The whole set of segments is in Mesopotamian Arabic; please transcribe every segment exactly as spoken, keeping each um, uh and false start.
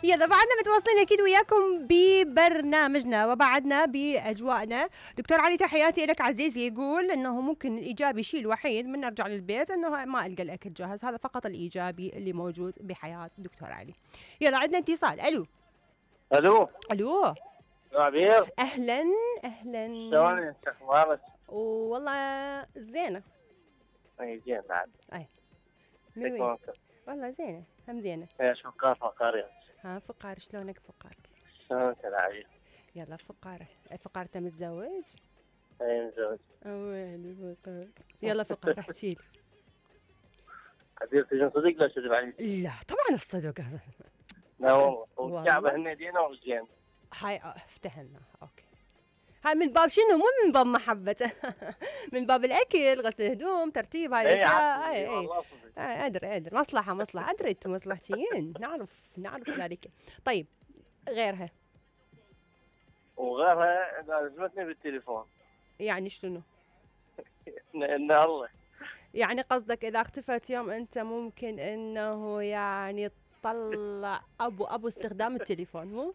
يلا بعدنا متواصلين اكيد وياكم ببرنامجنا وبعدنا باجواءنا. دكتور علي تحياتي لك عزيزي، يقول انه ممكن الايجابي شيء الوحيد من نرجع للبيت انه ما القى الاكل جاهز، هذا فقط الايجابي اللي موجود بحياه دكتور علي. يلا عندنا اتصال. الو الو الو عبير، اهلا اهلا، شلونك؟ شو اخبارك؟ والله زينه. اي زين بعد. اي من وين؟ والله زينه، هم زينه. ايش فقار فقار يا ها فقار، شلونك فقار؟ شلونك يا عبير؟ يلا فقار، فقار انت متزوج؟ اي متزوج. وين فقار؟ يلا فقار احكي لي. عبير تجون صدق لا تكذب علي؟ لا طبعا الصدق هذا. لا والله، والكعبه هن دينا وزين. هاي افتهمنا، اوكي. هاي من باب شنو؟ مو من باب محبته. من باب الاكل، غسل هدوم، ترتيب هاي الاشياء. اي اي ادري ادري، مصلحه مصلحه، ادري انتم مصلحتيين، نعرف نعرف ذلك. طيب غيرها؟ وغيرها لازمتني بالتليفون. يعني شنو؟ ان الله يعني قصدك اذا اختفت يوم انت ممكن انه يعني تطلع ابو ابو استخدام التليفون، مو؟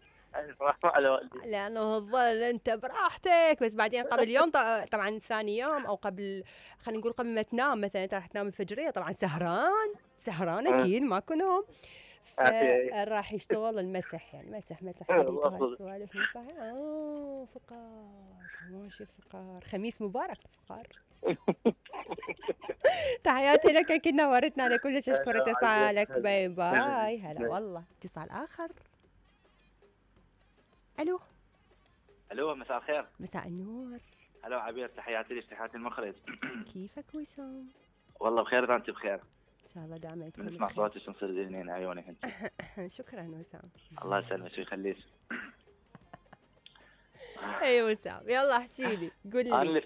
على والدي، لانه تظل انت براحتك، بس بعدين قبل يوم طبعا ثاني يوم او قبل، خلينا نقول قبل ما تنام مثلا، انت راح تنام الفجريه طبعا سهران سهران اكيد ماكو نوم، راح يشتغل المسح، يعني مسح مسح حديث وهالسوالف مسح. اه فقار ماشي فقار، خميس مبارك فقار. تحياتي لك، اكيد نورتنا على كلش، اشكر اتصالك، باي باي. هلا والله. اتصال اخر. الو الو مساء الخير. مساء النور. الو عبير، تحياتي لك، تحياتي المخرج. كيفك وسام؟ والله بخير، اذا انت بخير ان شاء الله دائما تكون نسمع صوتك ونصير ذهنين عيونك انت. شكرا وسام. الله يسلمك ويخليك. اي وسام، يلا احكي لي، قول لي.